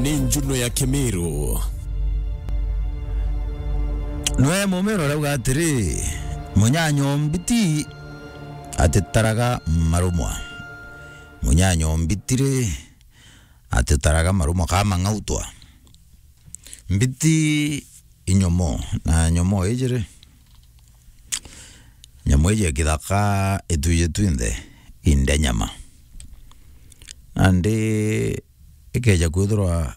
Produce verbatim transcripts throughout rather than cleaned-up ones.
Ni Njuno ya Kimiru. Nwe Mumiru arauga atiri, "Munyanyo mbiti atitaraga marumwa. Munyanyo mbiti ri, atitaraga marumwa ka mang'autwa." Mbiti i nyomo, na nyomo iji ri, nyomo iji ya kithaka itwiji twinthe india nyama. Nandi ikeja kwithirwa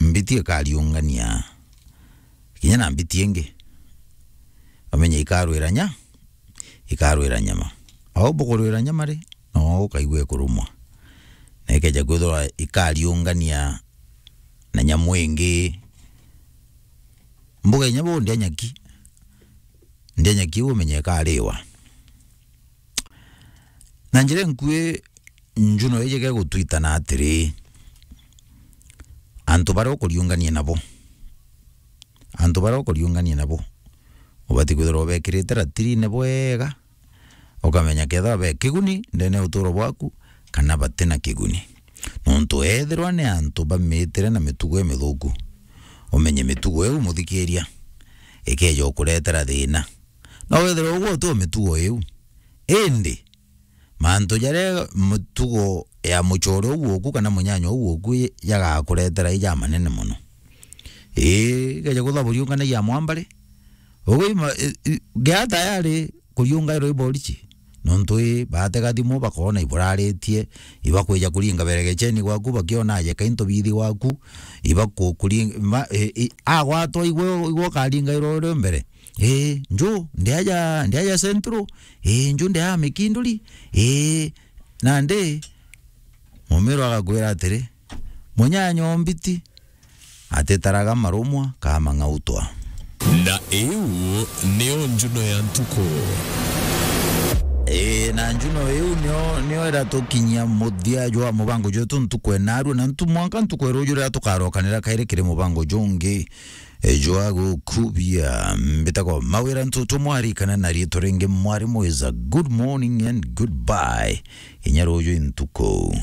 mbiti ikariungania kinya na mbiti ingi, bamenye ikarwira nya, ikarwira nyama. Au bukurwira nyama ri, no ukaigua ikurumwa. Na ikeja kwithirwa ikariungania na nyamu ingi, mbuga inya bu ndia nyaki, ndia nyaki umenye ikariwa. Na njira inkui, Njuno iji gegutwitana atiri, antu baria ukuriungania nabo, antu baria ukuriungania nabo, ubati kwithirwa ubekirite ratirine bwega, ukamenya kethira be kiguni ndene ya uturo bwaku, kana batina kiguni. Nontu ethirwa ni antu bamitire na mitugo imithuku, umenye mitugo iu, muthikiria, ikeja ukuretera thina. No withirwe ugwe uti o mitugo iu, indi mantu jaria mitugo ya mucore uu woku kana munyanya uu woku jagakuretera i jamanene mono. Ii, ikeja kwithirwa buriunganagia mwamba ri, ugwe ima-, i-, i-, gea tayari kuriungairwa i borichi. Nontu ii, baatega thimu bakoona iburaritie, ibakwija kuringa beregecheni gwaku, bakiona ajeka into bithi gwaku, ibaku-, kuri-, ma-, i-, i-, agwatwa igwe, igwe ukaringairwa uri mbere. Ii, nju, ndiaja, ndiaja Central. Ii, nju, ndiaja Mikinduri. Ii, nandi, Mumiru agakwira atiri, "Munyanya o mbiti atitaraga marumwa ka mang'autwa." Na iu niyo Njuno ya ntuku. Ii, na Njuno iu niyo, niyo iratukinyia muthia jwa mubango jwetu ntuku enarua, na ntu mwanka ntuku eruju riria tukarokanira kairi kiri mubango jungi. E, jwa gukubia, mbitagwa Mawira Ntutu Mwari, kana na riitwa ringi Mwarimu is a good morning and goodbye. Inya ruju i ntuku.